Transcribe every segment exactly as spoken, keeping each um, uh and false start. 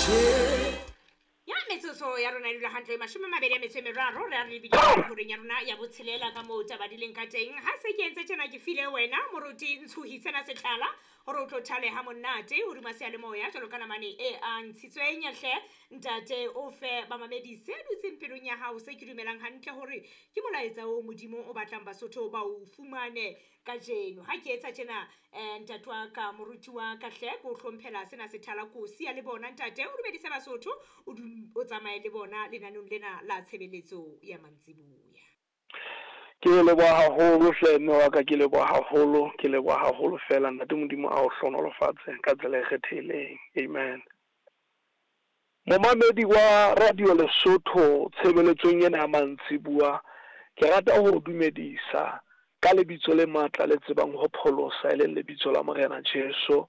Ya metsotso ya rona e dula hantle mashome a mabedi a metso e meraro, re a re lebile horeng ya rona ya botshelela ka moo taba di leng ka teng. Ha se ke entse tjena, ke file wena moruti Ntshohi sena sethala hore o tlo thale ha monate hodima seyalemoya jwalo ka namane e a ntshitsweng. Hle ntate, o fe bamamedi se dutseng pelong ya hao, se ke dumelang hantle hore ke molaetsa o Modimo o batlang Basotho ba o fumane kajeno. Ha ke etsa tjena, um ntate wa ka, moruti wa ka, hle ke o hlomphela sena sethala, ko siya le bona ntate, o dumedise Basotho, o o tsamaye le bona lenaneong lena la tshebeletso ya mantsiboya. Ke leboha haholo hle mme wa ka, ke leboha haholo, ke leboha haholo fela. Ntate Modimo a o hlohonolofatse ka tsela e kgethehileng. Amen. Momamedi wa Radio Lesotho tshebeletsong ena ya mantsibuya, ke rata ho dumedisa ka lebitso le matla le tsebang ho pholosa, e leng lebitso la Morena Jesu.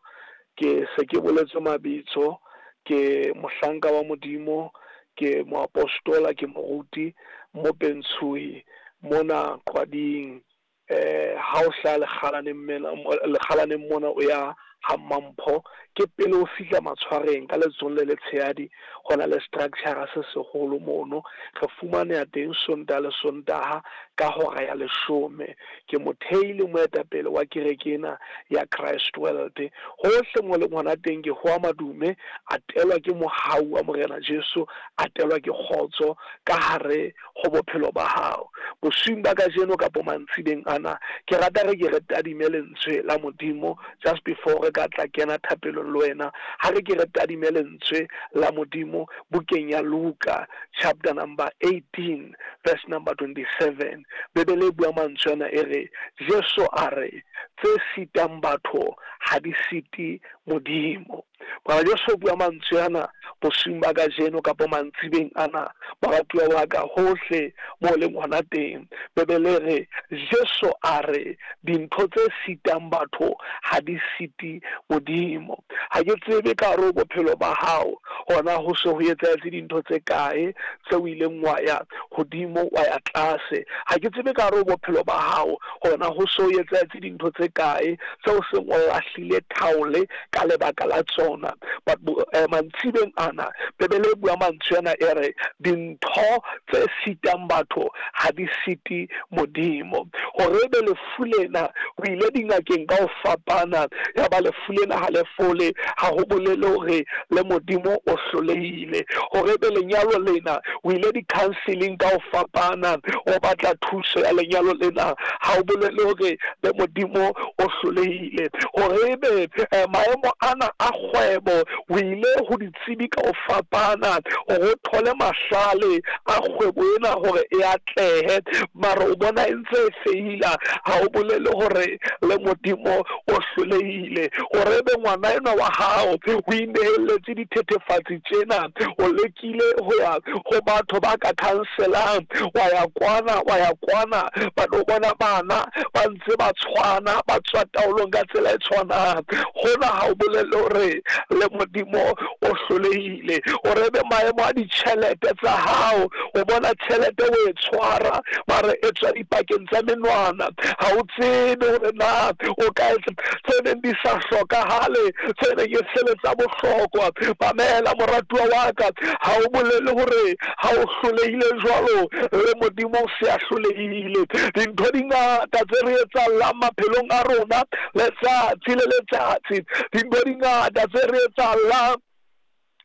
Ke se ke boletse mabitso, ke mohlanka wa Modimo, ke moapostola, ke moruti Mopentshui mona Qwading. Eh ha o hlaha Lekgalaneng mena, Lekgalaneng mona o ya ha Mampho, ke pele o fihla Matshwareng ka letsohong le letshehadi, ho na le structure se seholo mono. Re fumaneha teng Sontaha le Sontaha ka hora ya leshome. Ke mothehi le moetapele wa kereke ena ya Christ World. Hohle mo leng hona teng ke hoa madume, a telwa ke mohau wa Morena Jesu, a telwa ke kgotso ka hare ho bophelo ba hao. Bosiung ba kajeno kapo mantsibeng ana, ke rata re ke re tadime lentswe la Modimo just before re ka tla kena thapelong le wena. Ha re ke re tadime lentswe la Modimo bukeng ya Luka chapter number eighteen verse number twenty-seven. Bibele e bua mantswe ana e re, Jesu a re, tse sitang batho ha di site Modimo. Bana Jesu o bua mantswe ana bosiung ba kajeno kapo mantsibeng ana, baratuwa ba ka hohle mo leng hona teng. Bibele re, Jesu a re, dintho tse sitang batho ha di site Modimo. Ha ke tsebe ka hare ho bophelo ba hao hona ho se ho etsahetse dintho tse kae tse o ileng wa ya hodimo wa ya tlase. Ha ke tsebe ka hare ho bophelo ba hao hona ho se ho etsahetse dintho tse kae tse o seng o lahlile thaole ka lebaka la tsona. But eh, mantsibeng ana Bibele e bua mantswe ana e re, dintho tse sitang batho ha di site Modimo. Hore ebe lefu lena o ile dingakeng ka ho fapana, ya ba lefu lena ha le fole, ha ho bolele hore le Modimo o hlolehile. Hore ebe lenyalo lena o ile di-counseling ka ho fapana, o batla thuso ya lenyalo lena, ha o bolele hore le Modimo o hlolehile. Hore ebe eh, maemo ana a kgwebo o ile ho ditsebi ka ho fapana hore o thole mahlale a kgwebo ena hore e atlehe, mara o bona e ntse e feila, ha o bolele hore le Modimo o hlolehile. Hore ebe ngwana enwa wa hao o inehelletse dithethefatsi tjena, o lekile ho ya ho batho ba ka counselang, wa ya kwana wa ya kwana, but o bona bana ba ntse ba tshwana, ba tswa taolong ka tsela e tshwanang, hona ha o bolele hore le Modimo o hlolehile. Hore ebe maemo a ditjhelete tsa hao, o bona tjhelete o e tshwara mara e tswa dipakeng tsa menwana, ha o tsebe hore na o ka etsa tse neng di sa hlokahale, tse neng e se le tsa bohlokwa. Mamela moratuwa wa ka, ha o bolele hore ha o hlolehile jwalo le Modimo o se a hlolehile. Dintho di ngata tse re etsahallang maphelong a rona letsatsi le letsatsi, dintho di ngata tse re etsahallang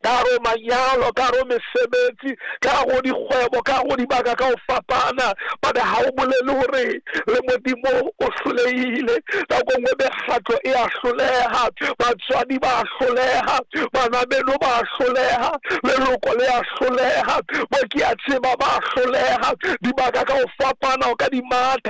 ka hare ho manyalo, ka hare ho mesebetsi, ka hare ho dikgwebo, ka hare ho dibaka ka ho fapana, but ha o bolele hore le Modimo o hlolehile. Nako nngwe mekgatlo e a hloleha, batswadi ba hloleha, bana beno ba hloleha, leloko le a hloleha, bo ke a tseba ba hloleha, dibaka ka ho fapana o ka di matha.